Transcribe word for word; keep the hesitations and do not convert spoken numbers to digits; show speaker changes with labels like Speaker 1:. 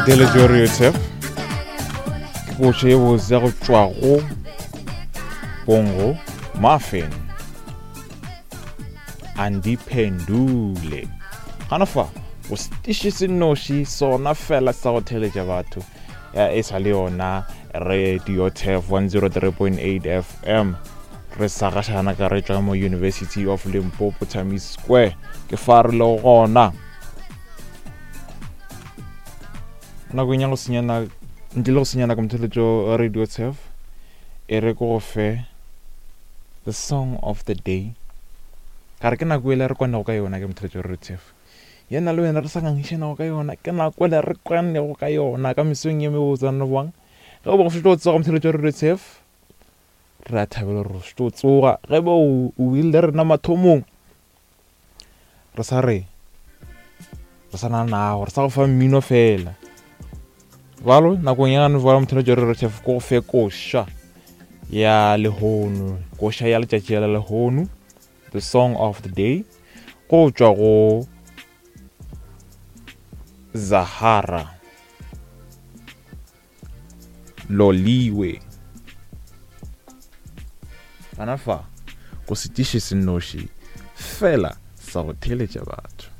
Speaker 1: Motheletši wa Radio Turf, ke koša ye botse ya go tšwa go Bongo Muffin, Andiphendule. Gana fa go setiši se nnoši sona fela sa go theletša batho, ya e sa le yona Radio Turf one oh three point eight F M. Re sa gašana ka re tšwa mo University of Limpopo Times Square, ke fa re le gona. Nakong ya go senyana, ntle le go senyana ka motheletšo wa Radio Turf, e re ko go fe the song of the day. Ka re ke nako ele re kwanego ka yona ke motheletšo wa Radio Turf. Yena le wena re sa ngangišanago ka yona, ke nako ele re kwanego ka yona ka mesong ye mebotsana bjang. Ge o bo go šetše o tsoga motheletšo wa Radio Turf, re a thabela gore o šetše o tsoga. Ge ba o, o ile le rena mathomong, re sa re, re sa na nago, re sa go fa mmino fela. Bjalo, nakong ya gane jwale motheletšo wa Radio Turf ko go fe koša ya lehono, koša ya letšatši la lehono, the song of the day, go tšwa go Zahara Loliwe. Gana fa go setiši se nnoši fela sa go theletša batho.